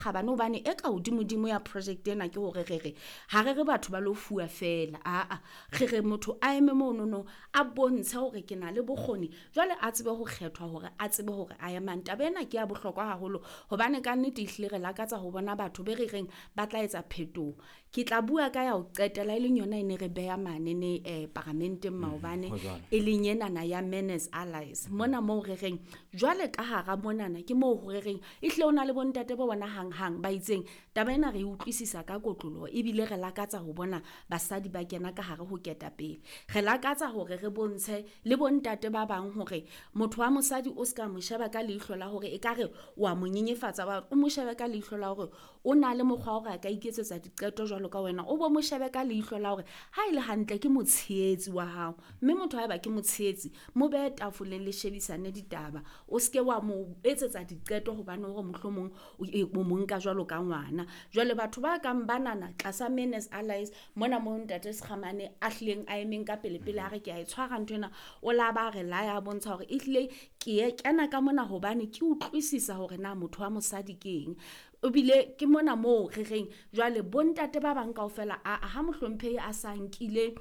Kgabane hobane e ka hodimodimo ya project ena ke hore re re ha re re batho ba lo fuwa feela, aa re re motho a eme monono a bontshe hore ke na le bokgoni, jwale a tsebe ho kgethwa hore a tsebe hore a emang. Taba ena ke ya bohlokwa haholo hobane kannete ehlile re lakatsa ho bona batho be re reng ba tla etsa phetoho. Ke tla bua ka ya ho qetela e leng yona e ne re beha manene paramenteng maobane, Ho jwalo. e leng enana ya Men as Allies. Mona moo re reng jwale ka hara monana ke moo re reng ehlile ho na le bontate bo bona hanghang ba itseng taba ena re e utlwisisa ka kotloloho ebile re lakatsa ho bona basadi ba kena ka hare ho ketapele. Re lakatsa hore re bontshe le bontate ba bang hore motho wa mosadi o ska mo sheba ka leihlo la hore ekare wa mo nyenyefatsa, o mo shebe ka leihlo la hore o na le mokgwa wa hore a ka iketsetsa diqeto jwalo ka wena, o bo mo shebe ka leihlo la hore ha e le hantle ke motshehetsi wa hao, mme motho haeba ke motshehetsi mo behe tafoleng le shebisane ditaba, o ske wa mo etsetsa diqeto hobane hore mohlomong o mo nka jwalo ka ngwana. Jwale batho ba kang banana tlasa Men as Allies mona mo ntate Sekgamane a hlileng a emeng ka pele pele a re ke a e tshwara nthwena, o la ba re laya a bontsha hore ehlile ke e kena ka mona hobane ke utlwisisa hore na motho wa mosadi ke eng. Ebile ke mona moo re reng jwale bontate ba bang kaofela aa ha mohlomphehi a sa nkile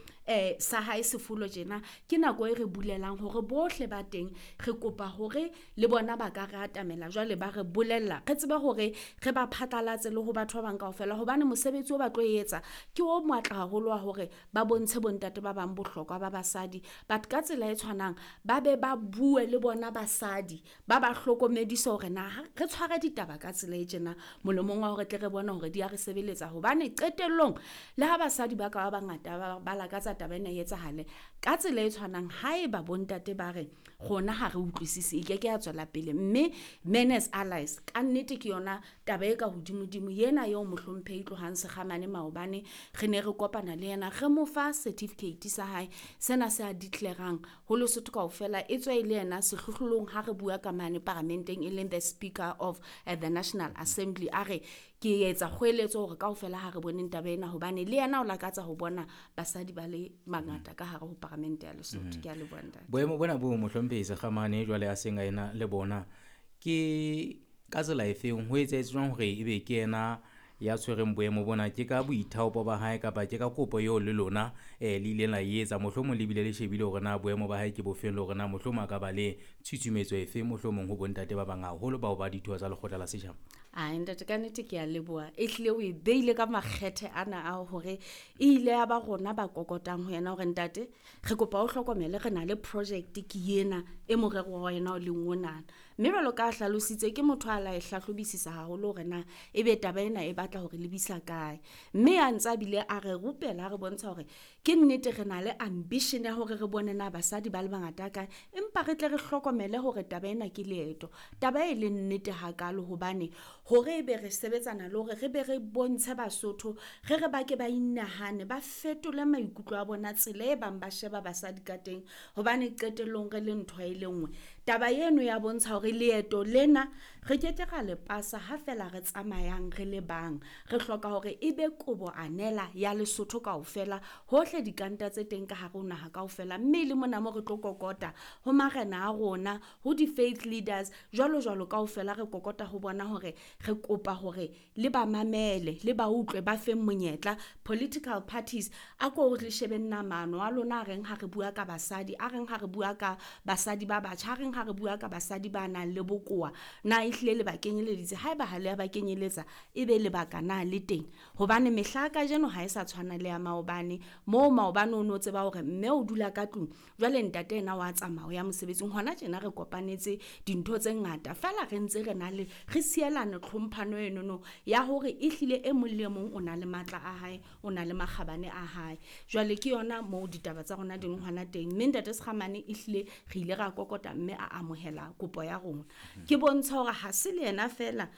sa hae sefolo tjena, ke nako e re bulelang hore bohle ba teng re kopa hore le bona ba ka re atamela jwale ba re bolella, re tsebe hore re ba phatlalatse le ho batho ba bang kaofela hobane mosebetsi o ba tlo etsa ke o matla haholo wa hore ba bontshe bontate ba bang bohlokwa ba basadi. But ka tsela e tshwanang ba be ba bue le bona basadi ba ba hlokomedise hore na re tshware ditaba ka tsela e tjena molemong wa hore tle re bone hore di a re sebeletsa, hobane qetellong le ha basadi ba ka ba bangata ba lakatsa taba ena e etsahale ka tsela e tshwanang, haeba bontate ba re rona ha re utlwisise e keke ya tswela pele. Mme Men as Allies ka nnete ke yona taba e ka hodimodimo ena eo mohlomphehi Tlohang Sekgamane maobane re ne re kopana le yena re mo fa certificate sa hae sena se a declarang ho Lesotho kaofela, e tswe e le yena sehlohlolong ha re bua ka mane paramenteng e leng the Speaker of the National Assembly. A re ke etsa kgoeletso hore kaofela ha re boneng taba ena hobane le yena o lakatsa ho bona basadi ba le bangata ka hare ho paramente ya Lesotho. Ke a leboha ntate. Boemo bona bo mohlomphehi Sekgamane jwale a seng a ena le bona ke ka tsela efeng ho etsahetse jwang hore ebe ke yena ya tshwereng boemo bona? Ke ka boithaopo ba hae kapa ke ka kopo eo le lona le ileng la e etsa? Mohlomong le bile le shebile hore na boemo ba hae ke bofeng le hore na mohlomong a ka ba le tshusumetso efe mohlomong ho bontate ba bang haholo bao ba ditho tsa lekgotla la setjhaba. Ai ntate, ka nnete ke a leboha, ehlile o e beile ka makgethe ana a hore e ile ya ba rona ba kokotang ho yena hore ntate re kopa o hlokomele re na le project ke ena e morero wa yena o leng onana. Mme jwalo ka hlalositse ke motho a la e hlahlobisisa haholo hore na ebe taba ena e batla hore lebisa kae, mme a ntsa bile a re rupela a re bontsha hore ke nnete re na le ambition ya hore re bone na basadi ba le bangata kae, empa re tle re hlokomele hore taba ena ke leeto. Taba e leng nnete hakalo hobane hore ebe re sebetsana le hore re be re bontshe Basotho re re ba ke ba inahane ba fetole maikutlo a bona tsela e bang ba sheba basadi ka teng, hobane qetellong re le ntho e le nngwe. Taba eno ya bontsha hore leeto lena re keke ra le pasa ha fela re tsamayang re le bang, re hloka hore ebe kobo anela ya Lesotho kaofela hohle dikanta tse teng ka hare ho naha kaofela, mme le mona mo re tlo kokota ho marena a rona, ho di-faith leaders jwalo jwalo kaofela re kokota ho bona hore re kopa hore le ba mamele le ba utlwe ba feng monyetla. Political parties a ko le shebeng na maano a lona a reng ha re bua ka basadi, a reng ha re bua ka basadi ba batjha, a reng ha re bua ka basadi ba nang le bokowa, na ehlile le ba kenyeleditse? Haeba ha le a ba kenyeletsa ebe lebaka na le teng? Hobane mehla ya kajeno ha e sa tshwana le ya maobane, moo maobane o no tseba hore mme o dula ka tlung jwale ntate yena wa tsamaya o ya mosebetsing. Hona tjena re kopanetse dintho tse ngata feela re ntse re na le re sielane tlhomphano enono ya hore ehlile e mong le mong o na le matla a hae, o na le makgabane a hae. Jwale ke yona moo ditaba tsa rona di leng hona teng, mme ntate Sekgamane ehlile re ile ra kokota mme a amohela kopo ya rona. Ke bontsha hore ha se le yena feela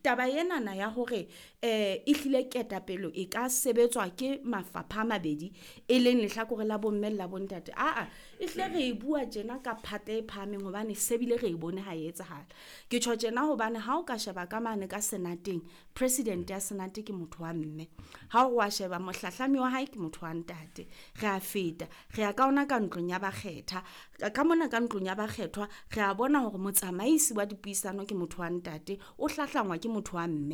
taba enana ya hore ehlile ketapele e ka sebetswa ke mafapha a mabedi e leng lehlakore la bomme le la bontate. Aa ehlile re e bua tjena ka phate e phahameng hobane se bile re e bone ha e etsahala. Ke tjho tjena hobane ha o ka sheba ka mane ka senateng, president ya senate ke motho wa mme, ha o wa sheba mohlahlami wa hae ke motho wa ntate. Re a feta re ya ka ona ka ntlong ya bakgetha, ka mona ka ntlong ya ba kgethwa, re a bona hore motsamaisi wa dipuisano ke motho wa ntate, o hlahlangwa ke motho wa mme.